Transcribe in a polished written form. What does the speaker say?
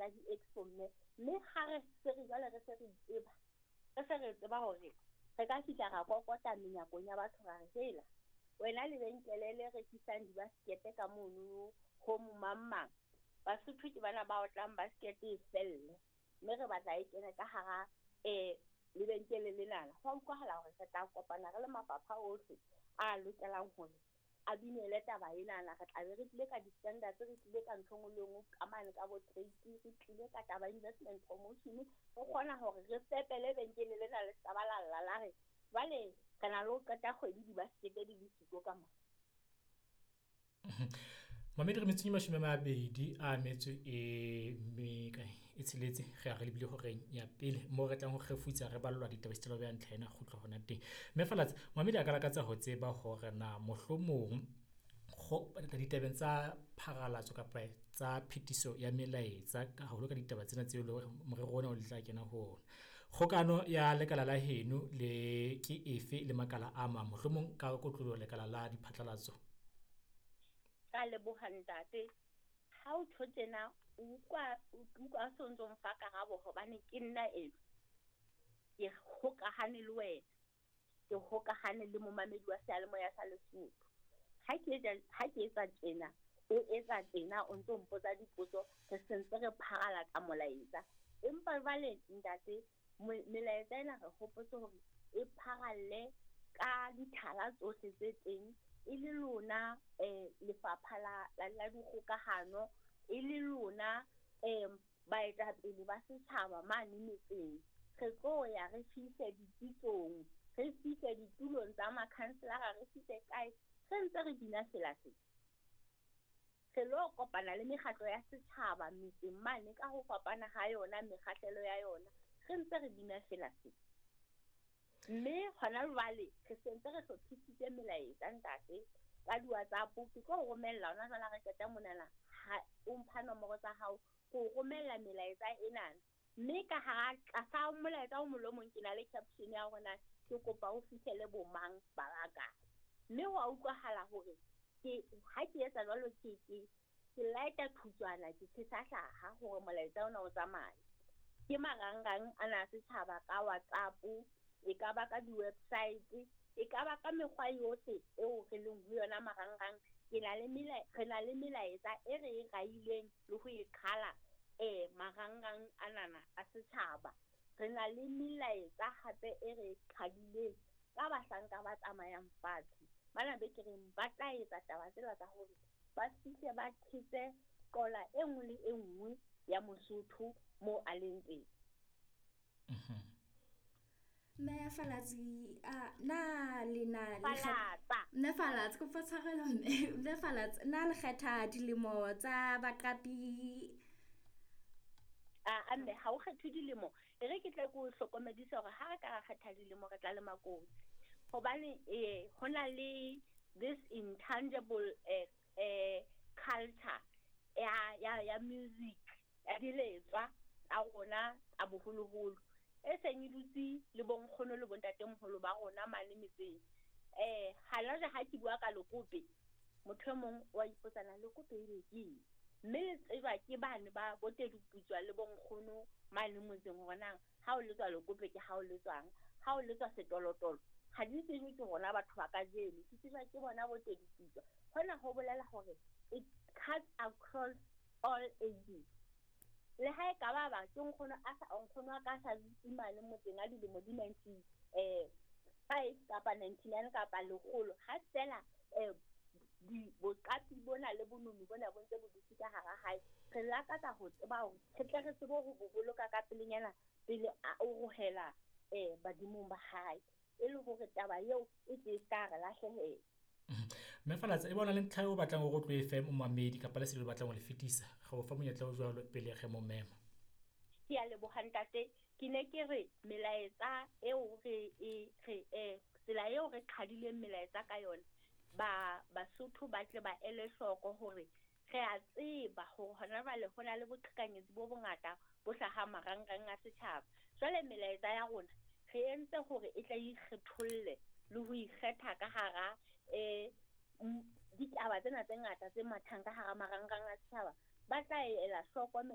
tsa di-expo mme mme ha re se re jwale re se re tseba, re se re tseba hore re ka fihla ra kokota menyakong ya batho ra re hela wena lebenkele le rekisang dibaskete ka mono ho mang mang, Basotho ke bana ba otlang basket e felle, mme re batla e kene ka hara lebenkele lenana. Ho a utlwahala hore re tla kopana re le mafapha ohle a lokelang hore a dumele taba enana. Re tla be re tlile ka di-standards, re tlile ka ntho e nngwe le e nngwe ka mane ka bo trade, re tlile ka taba investment promotion, re kgona hore re fepe lebenkele lena le ska ba la lla la re jwale re na le ho qeta kgwedi dibaskete di le siko ka mona. Mamedi re metsotso e 26 re ya re lebile horeng ya pele moo re tlang ho kgefutsa re ballwa ditaba esita le ho beha ntlha ena kgutlo hona teng. Mme Falatsa, mamedi a ka lakatsa ho tseba hore na mohlomong ditabeng tsa pharalatso kapa tsa phetiso ya melaetsa haholo ka ditaba tsena tseo le hore morero ona o le tla kena ho ona. Kgokano ya lekala la heno le ke efe le makala a mang, mohlomong ka kotloloho lekala la diphatlalatso? Ka leboha ntate. Ha o tjho tjena, o utlwa o utlwa o so ntso mfa karabo hobane ke nna eno. Ke hokahane le wena, ke hokahane le momamedi wa seyalemoya sa Lesotho. Ha ke etsa, ha ke etsa tjena, o etsa tjena, o ntso mpotsa dipotso, re sentse re pharalatsa molaetsa. Empa jwale ntate, melaetsa ena re hopotse hore e pharalle ka dithala tsohle tse teng, e le lona lefapha la dikgokahano, e le lona baetapele ba setjhaba mane metseng. Re tlo ya re fihle dipitsong, re fihle ditulong tsa makhanselara, re fihle kae, re ntse re bina sela se. Re lo kopana le mekgatlo ya setjhaba metseng mane ka ho fapana ha yona, mekgahlelo ya yona, re ntse re bina sela se. Mme hona jwale re sentse re hlophisitse melaetsa ntate ka di-WhatsApp. Ke tlo o romella hona jwale ha re qeta monana, ha o mpha nomoro tsa hao, ke o romella melaetsa enana. Mme ka hara tlasa molaetsa o mong le o mong ke na le caption ya hore na ke kopa o fihlele bo mang ba bakae. Mme ho a utlwahala hore ke ha ke etsa jwalo ke lighta thutswana, ke tjhesa hlaha hore molaetsa ona o tsamaye. Ke marangrang ana a setjhaba ka WhatsApp, e ka ba ka di-website, e ka ba ka mekgwa yohle eo re leng ho yona marangrang. Ke na le re na le melaetsa e re e raileng le ho e qhala marangrang anana a setjhaba. Re na le melaetsa hape e re e qhadileng ka bahlanka ba tsamayang fatshe. Bana be ke reng ba tla etsa taba tsela tsa hore ba fihle ba thetse qola e nngwe le e nngwe ya Mosotho moo a leng teng. Mme Falatsi, na le na le Falatsa. Mme Falatsa, kopa tshwarelo mme. Mme Falatsa, na le kgetha dilemo tsa baqapi? A mme ha o kgethe dilemo, e re ke tle ke o hlokomedise hore ha re ka ra kgetha dilemo re tla le makotsi. Hobane ho na le this intangible culture ya music, ya diletswa tsa rona tsa boholoholo e seng e dutse le bonkgono le bontatemoholo ba rona mane metseng. Hana jwale ha ke bua ka lekope, motho e mong wa ipotsa na lekope ebe ke eng? Mme le tsejwa ke bane ba boteduputswa le bonkgono mane motseng hore na ha o letswa lekope ke ha o letswang, ha o letswa setolotolo ha di tsejwe ke rona batho ba kajeno, di tsejwa ke bona boteduputswa. Hona ho bolela hore it cuts across all ages. Le ha e ka ba ba ke nkgono a sa, nkgono wa ka sa dutse mane motseng a dilemo di ninety, five kapa 99 kapa lekgolo, ha feela boqapi bona le bonono bona bo ntse bo dutse ka hara hae, re lakatsa ho tseba hore re tle re tsebe ho bo boloka ka pelenyana pele a orohela badimong ba hae, e le hore taba eo e tle e ska re lahlehela. Mme Falatsa, e bona le ntlha eo o batlang hore o tlo e fe momamedi kapa lesedi o batlang ho le fetisa, re o fa monyetla o jwalo pele re mo mema. Ke a leboha ntate. Ke ne ke re melaetsa eo re e, re, tsela eo re qhadileng melaetsa ka yona, Basotho ba tle ba ele hloko hore re a tseba hore hona jwale ho na le boqhekanyetsi bo bongata bo hlahang marangrang a setjhaba. Jwale melaetsa ya rona re entse hore e tla ikgetholle le ho ikgetha ka hara ditaba tsena tse ngata tse mathang ka hara marangrang a setjhaba. Ba tla ela hloko